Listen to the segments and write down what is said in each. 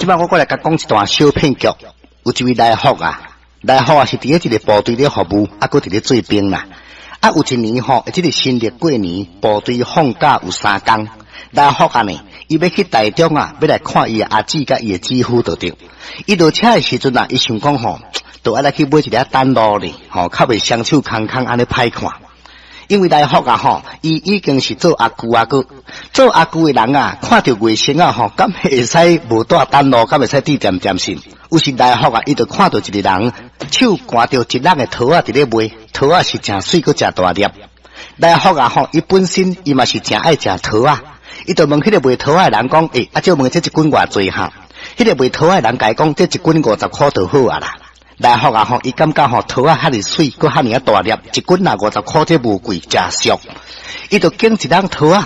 這擺我閣來共講一段小騙局。有一位來福啊，來福啊是佇咧一个部隊咧服務，啊，閣佇咧做兵啦。啊，有一年吼，這个新曆過年，部隊放假有3工。來福啊呢，伊欲去台中啊，欲來看伊的阿姊佮伊的姊夫就對。伊落車的時陣啊，伊想講吼，著愛來去買一个等路咧，吼，較袂雙手空空按呢歹看。因為來福啊吼，伊已經是做阿舅啊閣，做阿舅的人啊，看著外甥仔吼，敢會使無帶等路，敢會使佇恬恬信？有時來福啊，伊就看著一个人手牽著一籃的桃仔佇咧賣，桃仔是誠媠閣誠大粒。來福啊吼，伊本身伊嘛是誠愛食桃仔，伊就問彼个賣桃仔的人講：欸，啊，借問這一斤偌濟哈？彼个賣桃仔的人共伊講：這一斤50箍就好啊啦。來福啊吼，伊感覺吼桃仔遐爾媠，閣遐爾仔大粒，一斤若50箍，這無貴，誠俗。伊就揀一籃桃仔，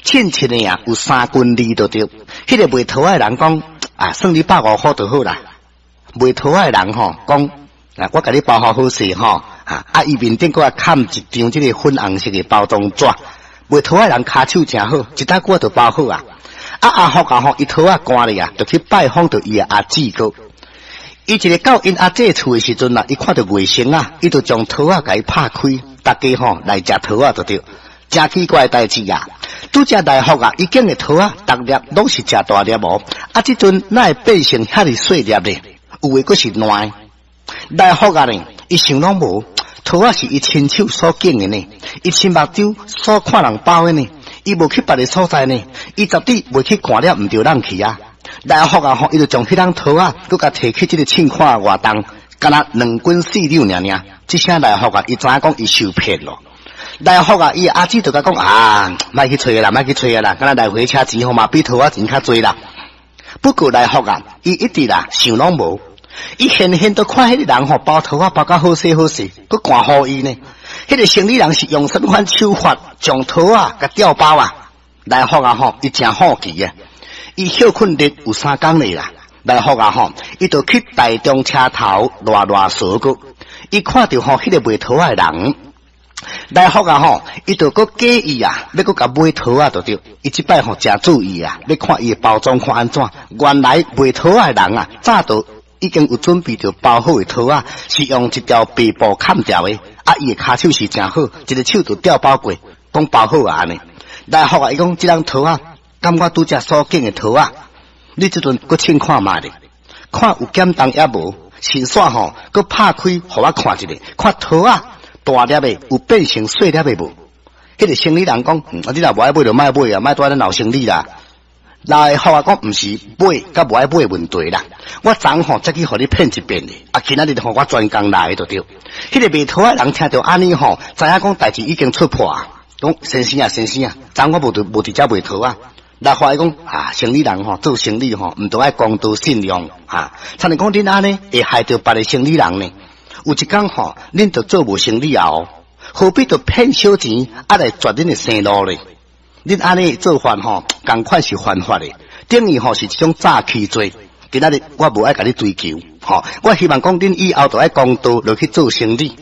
稱稱的啊，有3斤2就對。彼个賣桃仔的人講：啊，算你150箍就好啦。賣桃仔的人吼講：啊，我共你包好好勢吼，啊，伊面頂閣還崁一張這个粉紅色的包裝紙。賣桃仔的人跤手誠好，一大久就包好啊。啊，阿福啊吼，伊桃仔乾咧啊，就去拜訪著伊的阿姊閣。伊一个到𪜶阿姊厝的時陣啊，伊看著外甥仔，伊就將桃仔共伊拍開，大家吼來食桃仔就對。誠奇怪的代誌啊！拄才來福啊，伊揀的桃仔，逐粒攏是誠大粒無？啊，這陣哪會變成遐爾細粒咧？有的閣是爛的。來福啊呢，伊想攏無，桃仔是伊親手所揀的呢，伊親目睭所看人包的呢，伊無去別个所在呢，伊絕對袂去看了毋著人去啊！來福啊吼，伊就將彼籃桃仔，閣共提去這个凊看活動，敢若2斤4兩爾爾。這聲來福啊，伊知影講伊受騙咯。來福啊，伊阿姊就共講啊，莫去揣啦，莫去揣啦，敢若來回車錢吼嘛比桃仔錢較濟啦。不過來福啊，伊一直啦想攏無，伊現現都看彼个人吼包桃仔包甲好勢好勢，閣寒予伊呢。彼个生理人是用啥物款手法將桃仔共吊包啊？來福啊吼，伊誠好奇啊！伊歇睏日有3工咧啦，來福啊吼，伊就去台中車頭賴賴趖閣，伊看著吼彼个賣桃仔的人，來福啊吼，伊就閣假意啊，欲閣共買桃仔就對。伊這擺吼誠注意啊，欲看伊的包裝看按怎。原來賣桃仔的人啊，早就已經有準備著包好的桃仔，是用一條白布崁牢的。啊，伊的跤手是誠好，一个手就吊包過，講包好啊按呢。來福啊，伊講這籃桃仔。敢我拄才所揀的桃仔，你這陣閣稱看覓咧？看有減重抑無？先煞吼，閣拍開予我看一下，看桃仔大粒的有變成細粒的無？彼个生理人講，啊，你若無愛買就莫買啊，莫蹛咧鬧生理啦。來福啊講，毋是買佮無愛買的問題啦。我昨吼才去予你騙一遍咧，啊，今仔日予我專工來的就對。彼个賣桃仔人聽著按呢吼，知影講代誌已經出破啊。講先生啊，先生啊，昨我無佇無佇遮賣桃仔。來福伊講啊，生理人吼做生理吼，毋著愛公道信用哈。親像講恁按呢會害著別个生理人呢？有一工吼，恁就做無生理啊哦，何必著騙小錢啊來絕恁的生路咧？恁按呢做法吼，仝款是犯法的，等於吼是一種詐欺罪。今仔日我無愛共你追究，吼，我希望講恁以後著愛公道落去做生理。